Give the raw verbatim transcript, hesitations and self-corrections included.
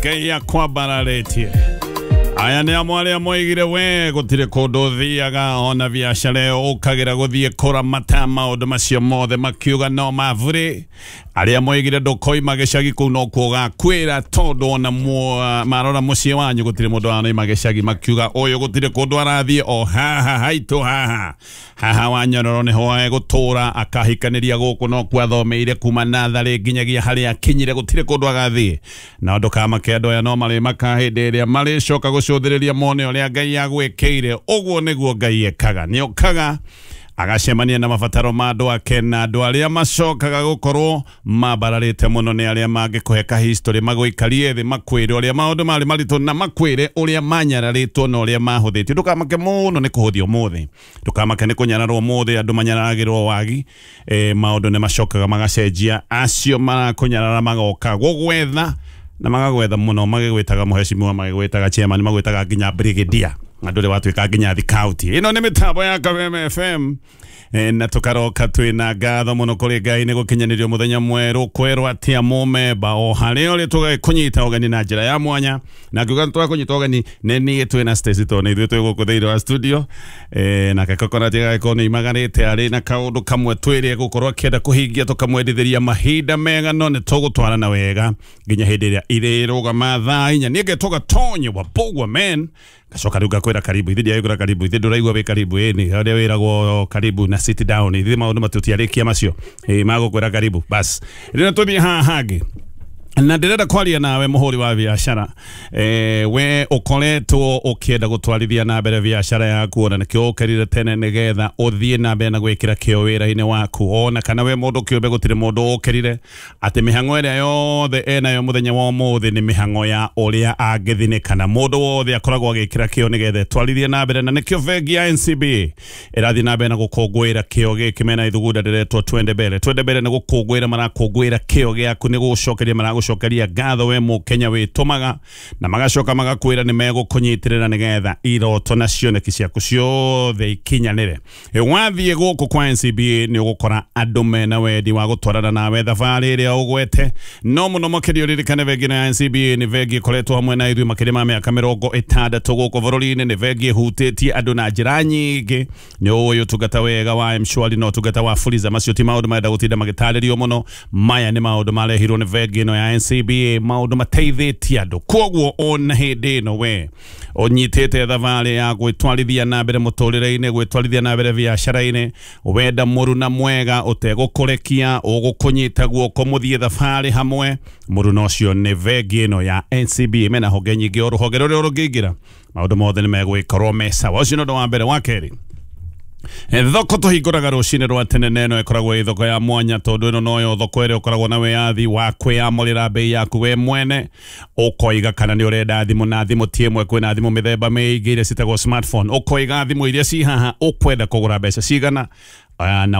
Ngai akwambararĩtie. Aya nĩ amwe arĩa moigire we gũtirĩ kũndũ ũthiaga ona biacara ĩyo ũkagĩra gũthiĩ kũramata maũndũ macio mothe makiuga no mabũrĩ. Arĩa moigire ndũkoima gĩcagi kũu no kuo ũgakuĩra tondũ ona marora mũciĩ wanyu gũtirĩ mũndũ wanoima gĩcagi, makiuga ũyũ gũtirĩ kũndũ arathiĩ o haha haitũ haha haha wa Nyororo nĩho egũtũra, akahikanĩria gũkũ no kuo athomeire kuma natharĩ nginyagia harĩa akinyire, gũtirĩ kũndũ agathiĩ. Na ndũkamake andũ aya no marĩmaka hĩndĩ ĩrĩa marĩcoka gũcũthĩrĩria mone ũrĩa Ngai agwĩkĩire. Ũguo nĩguo Ngai ekaga, nĩokaga agacemania na mabataro ma andũ ake, na andũ arĩa macokaga gũkorwo mambararĩte mũno nĩ arĩa mangĩkũhe ka history, magũikarie thĩ makwĩre ũrĩa maũndũ marĩ maritũ na makwĩre ũrĩa manyararĩtwo na ũrĩa mahũthĩtio. Ndũkamake mũno nĩ kũhũthio ũmũthĩ, ndũkamake nĩ kũnyararwo ũmũthĩ, andũ manyararagĩrwo wagi. E, maũndũ nĩ macokaga magacenjia, acio marakũnyarara magoka gũgwetha na magagwetha mũno, magĩgwĩtaga mũhecimiwa, magĩgwĩtaga chairman, magwĩtaga nginya brigadier, andũ rĩ watuĩka nginya thikauti. Ĩno nĩ mĩtambo ya Kameme F M. E, na tũkaroka twĩna ngatho mũno kũrĩ Ngai nĩ gũkinyanĩrio mũthenya mwerũ kwerwo atĩa mũmemba o harĩa ũrĩ tũgakũnyita ũgeni na njĩra ya mwanya. Na ngiuga tũgakũnyita ũgeni nĩ niĩ twĩna Stacy tondũ nĩ ithuĩ twĩ gũkũ thĩinĩ wa studio. E, nake Coconut agagĩkorwo nĩ imaganĩte arĩ na kaũndũ kamwe twĩrĩ egũkorwo akĩenda kũhingia, tũkamwendithĩria mahinda mega, no nĩ tũgũtwarana wega nginya hĩndĩ ĩrĩa irĩrũgama thaa inya. Niĩ ngetwo Gatonye wa Bogwa man, gacoka rĩu ngakwĩra karibu, ithuĩ ndiagĩkwĩra karibu, ithuĩ ndũraigua wĩ karibu, ĩni harĩa wĩragwo karibu na sit down, ithuĩ maũndũ matutiarĩkia macio, ĩ magũkwĩra karibu bas. Rĩu tũthiĩ haha hangĩ na ndĩrenda kwaria nawe mũhũri wa biacara, e, we ũkoretwo ũkĩenda gũtwarithia na mbere biacara yaku, ona nĩkĩo ũkĩrire tene nĩgetha ũthiĩ na mbere na gwĩkĩra kĩo wĩra-inĩ waku, ona kana we mũndũ kĩũmbe gũtirĩ mũndũ ũkĩrire atĩ mĩhang'o ĩrĩa yothe enayo mũthenya wa ũmũthĩ nĩ mĩhang'o ya ũrĩa angĩthinĩka, na mũndũ wothe akoragwo agĩkĩra kĩo nĩgetha etwarithie na mbere, na nĩkĩo bengi ya N C B A ĩrathiĩ na mbere na gũkũngũĩra kĩo gĩkĩ mena ithugunda rĩretwo Twende Mbere. Twende Mbere nĩ gũkũngũĩra marakũngũĩra kĩo gĩaku, nĩ gũcokeria maragũcokeria ngatho we mũkenya wĩtũmaga, na magacoka magakwĩra nĩ megũkũnyitĩrĩra nĩgetha iroto na cioneki ciaku ciothe ikinyanĩre. Wathiĩ gũkũ kwa N C B A nĩ ũgũkora andũ mena wendi wa gũtwarana nawe thabarĩ ĩrĩa ũgwete, no mũno makĩria ũririkane bengi ya N C B A nĩ bengi ĩkoretwo hamwe na ithuĩ makĩria ma mĩaka mĩrongo ĩtandatũ gũkũ bũrũri-inĩ, nĩ bengi ĩhutĩtie andũ na njĩra nyingĩ. Nĩ ũĩ ũtungata wega wa M-Shwari na ũtungata wa Fuliza, macio ti maũndũ marenda gũtinda magĩtarĩrio mũno, maya nĩ maũndũ marehirwo nĩ bengi ĩno ya N C B A, maũndũ mateithĩtie andũ. Koguo ona hĩndĩ ĩno we ũnyitĩte thabarĩ ya gwĩtwarithia na mbere mũtũrĩre-inĩ, gwĩtwarithia na mbere biacara-inĩ, wenda mũruna mwega ũtegũkũrekia, ũgũkũnyita guoko mũthiĩ thabarĩ hamwe, mũruna ũcio nĩ bengi ĩno ya N C B A. Mena honge nyingĩ, o rũhonge rũrĩa rũngĩingĩra maũndũ mothe nĩ megwĩkorwo me sawa. Ũcio nĩ ũndũ wa mbere. Wa kerĩ, thoko tũhingũraga rũcinĩ rwa tene, na ĩno ĩkoragwo ĩ thoko ya mwanya tondũ ĩno noyo thoko ĩrĩa ũkoragwo na wĩyathi wa kwĩyamũrĩra bei yaku we mwene, ũkoiga kana nĩ ũrenda thimũ, na thimũ ti ĩmwe, kwĩna thimũ mĩthemba mĩingĩ iria citagwo smartphone, ũkoiga thimũ iria ci haha ũkwenda kũgũra mbeca cigana, na